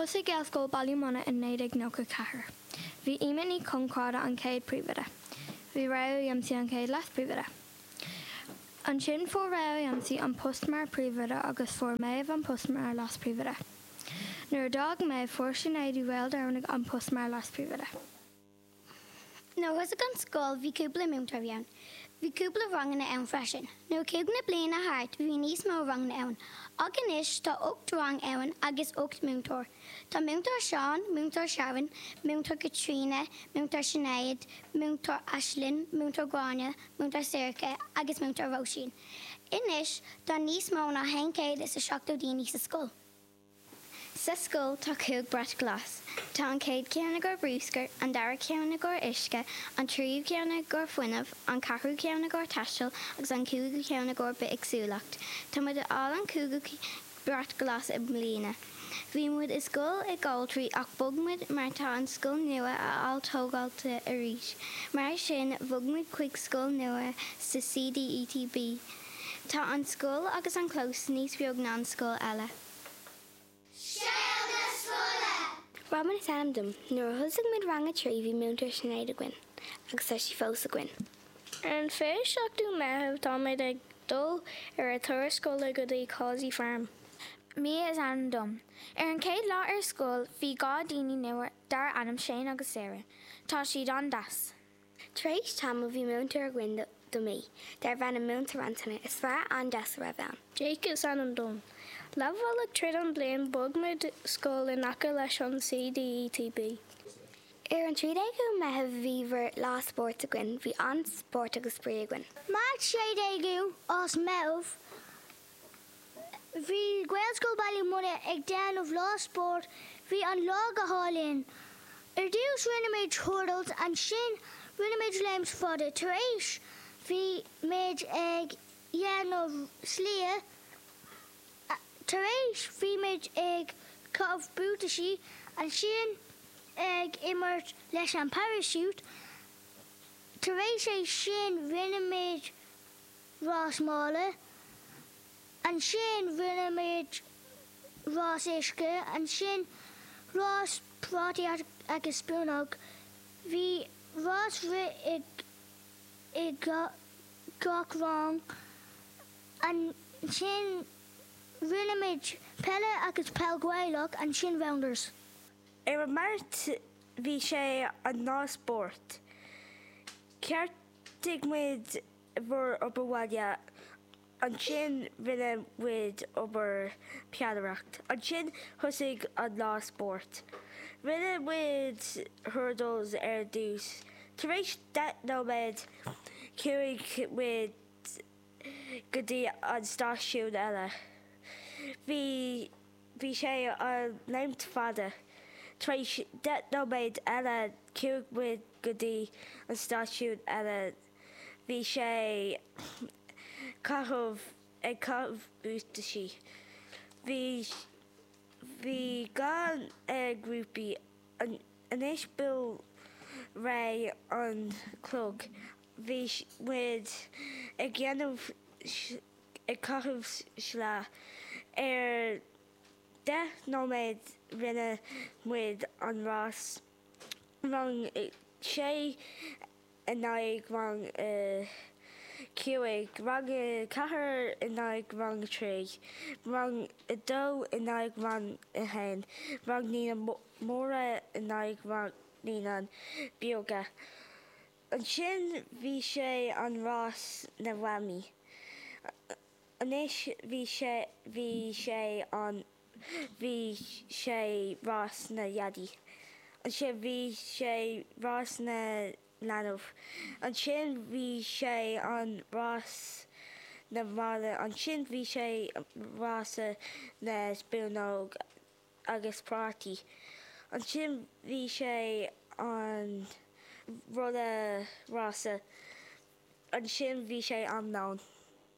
Thosaigh Gaelscoil Baile Munna in 1994. Bhí Emer Ní Chonchradha an chéad príomhoide. Bhí Ray Ó Dempsey an chéad leas-príomhoide. Ansin fuair Ray Ó Dempsey an post mar príomhoide agus fuair Méabh an post mar leas-príomhoide. Nuair a d'fhág Méabh fuair Sinéad Uí Mhaoldomhnaigh an post mar leas-príomhoide. Nuair a thosaigh an scoil bhí cúpla múinteoirí ann. Bhí cúpla ranganna ann freisin. Nuair a chuaigh na bliana thart bhí níos mó ranganna ann. Ach anois tá 8 rang ann agus 8 múinteoir. Tá Múinteoir Seán, Múinteoir Sharon, Múinteoir Caitríona, Múinteoir Sinéad, Múinteoir Aislinn, Múinteoir Gráinne, Múinteoir Sorcha agus Múinteoir Róisín. Anois tá níos mó ná 170 daoine sa scoil. Sa scoil tá 5 brat glas. Tá an chéad ceann i gcomhair brúscar, an dara ceann i gcomhair uisce, an tríú ceann i gcomhair fuinneamh, an ceathrú ceann i gcomhair taisteal agus an cúigiú ceann i gcomhair bithéagsúlacht. Tá muid ag fháil an cúigiú brat glas i mbliana. Bhí muid i scoil i Goltraí ach bhog muid mar tá an scoil nua á tógáilt arís. Mar sin bhog muid chuig scoil nua sa CDETB. Tá an scoil agus an clós níos beag ná an scoil eile. Scéal na Scoile! Robin is ainm dom. Nuair a thosaigh muid rang a 3 bhí múinteoir Sinéad againn agus tá sí fós againn. Ar an 27ú Meitheamh táimid ag dul ar a turas scoile go dtí Causey Farm. Mia is ainm dom. Ar an chéad lá ar scoil bhí 2 daoine nua dar ainm Shane agus Sarah. Tá siad an-deas. Tar éis tamaill bhí múinteoir againn do mí, darbh ainm Múinteoir Antaine. Is fear an-deas a raibh ann. Jake is ainm dom. Leathbhealach tríd an bliain bhog muid scoil in aice leis an CDETB. Ar an 13ú Meitheamh bhí bhur lá spóirt againn. Bhí an-spórt agus spraoi againn. Máirt 16ú as Meitheamh Bhí Gaelscoil Baile Munna ag déanamh lá spóirt, bhí an lá go hálainn. Ar dtús rinne muid hurdles, ansin rinne muid léimt fada, tar éis bhí muid ag dhéanamh slia, tar éis bhí muid ag caitheamh buataisí, ansin ag imirt leis an parachute, tar éis é sin rinne muid rás mála, ansin rinne muid rás uisce, ansin rás prátaí agus spúnóg. Bhí rás rith i gach rang. Ansin rinne muid peile agus peil Gaelach, ansin rounders. Ar an Máirt bhí sé an lá spóirt. Cheartaigh muid bhur obair bhaile, ansin rinne muid obair peannaireacht. Ansin thosaigh an lá spóirt. Rinne muid hurdles ar dtús. Tar éis 10 nóiméad chuaigh muid go dtí an stáisiún eile. Bhí bhí sé an léimt fada. Tar éis 10 nóiméad eile chuaigh muid go dtí an stáisiún eile. Bhí sé caitheamh ag caitheamh buataisí. Bhí bhí gan grúpaí. Anois bhuail ré an clog. Bhí muid ag dhéanamh ag caitheamh sleá. Ar 10 nóiméad rinne muid an rás rang 6. in aghaidh rang a 5, rang a 4 in aghaidh rang a 3, rang a 2 in aghaidh rang a 1, rang naíonáin mhóra in aghaidh rang naíonáin beaga. Ansin bhí sé an rás na mamaí. Anois bhí sé bhí sé an bhí sé rás na dhaidí. Ansin bhí sé rás na leanbh. Ansin bhí sé an rás na mála. Ansin bhí sé rása na spúnóg agus prátaí. Ansin bhí sé an rolla rása. Ansin bhí sé am lóin.